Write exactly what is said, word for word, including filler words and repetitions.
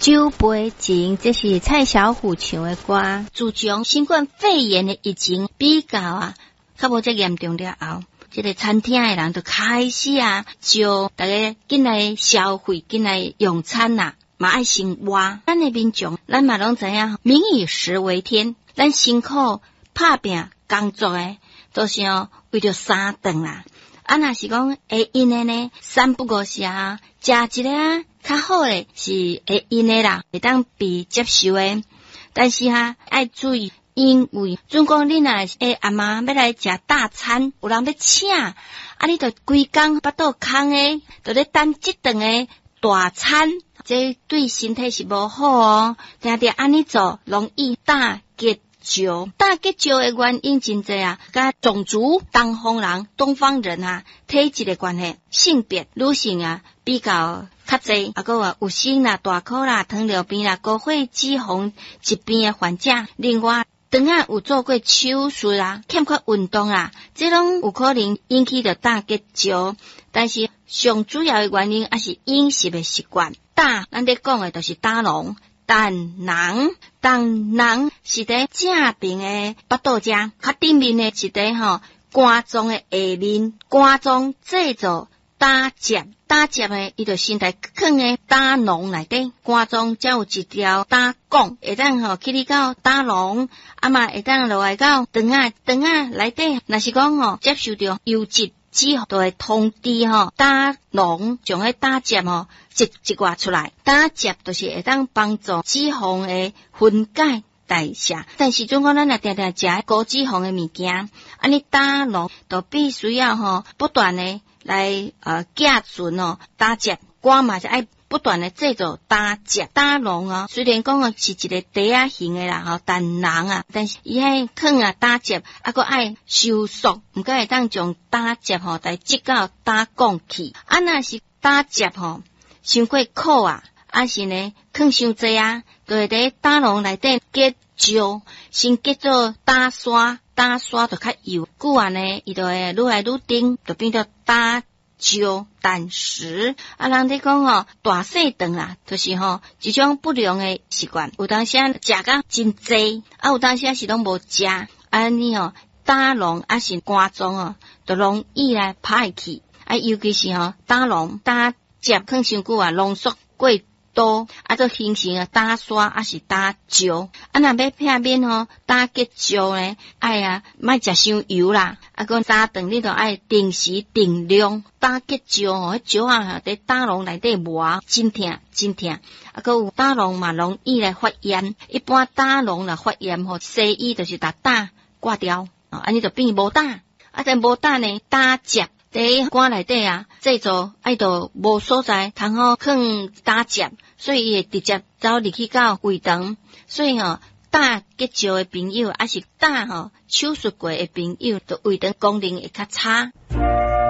酒杯情，這是蔡小虎唱的歌。自從新冠肺炎的疫情比較啊，較無遮嚴重了後，這个餐廳的人就開始啊，招逐家進來消費，進來用餐啦，嘛愛先活。咱的民眾，咱嘛攏知影，民以食為天，咱辛苦拍拚工作的，都是哦為著三頓啦。啊，若是講會閒的呢，三不五時啊，食一个啊，較好的是會閒的啦，會當被接受的。但是哈，愛注意，因為準講你若會暗暝欲來食大餐，有人欲請，啊，你著規工腹肚空的，著咧等這頓的大餐，這對身體是無好哦。定定按呢做，容易膽結石。膽結石的原因真濟啊，佮種族、東方人、東方人啊，體質的關係，性別女性啊比較較濟，啊，閣有有生啦、大箍啦、糖尿病啦、高血脂肪疾病的患者，另外，腸仔有做過手術啊，欠缺運動啊，這攏有可能引起著膽結石。但是上主要的原因還是飲食的習慣。膽，咱咧講的就是膽囊。膽囊，膽囊是佇正爿的腹肚遮，較頂面的是佇吼肝臟的下面，肝臟製造膽汁，膽汁呢，伊就先來囥佇膽囊內底，肝臟才有一條膽管，會當吼去到膽囊，啊嘛會當落來到腸仔，腸仔內底，若是講吼接受著油脂。脂就會通知吼膽囊將彼膽汁吼擠一寡出來，膽汁就是會當幫助脂肪的分解代謝。但是準講咱若定定食高脂肪的物件，按呢膽囊就必須要吼不斷的來呃寄存哦膽汁，肝嘛是愛不斷的製造膽汁。膽囊哦，雖然講哦是一个袋仔形的啦，吼膽囊啊，但是伊彼囥啊膽汁，啊閣愛收縮，毋過會當將膽汁吼來擠到膽管去。啊，若是膽汁吼傷過苦啊，抑是呢囥傷濟啊，就會佇膽囊內底結石，先結做膽沙，膽沙就較幼，久啊呢，伊就會愈來愈重，就變做膽石、膽石。啊，人咧講吼，大細腸啊，就是吼一種不良的習慣。有當時食甲真濟，啊，有當時是攏無食，按呢吼膽囊抑是肝臟哦，就容易來歹去。啊，尤其是吼膽囊膽汁囥傷久啊，濃縮過多，啊，就形成啊膽沙，抑是膽石。啊，若欲避免吼膽結石呢，愛啊莫食傷油啦。啊，閣三頓你著愛定時定量。膽結石吼，彼石仔佇膽囊內底磨，真疼真疼。啊，閣有膽囊嘛容易來發炎。一般膽囊若發炎吼，西醫就是共膽割掉，按呢就變無膽。啊，但無膽呢，膽汁佇肝內底啊，製造愛就無所在通好囥膽汁，所以伊會直接走入去到胃腸。所以吼，膽結石的朋友，抑是膽吼手術過的朋友，就胃腸功能會較差。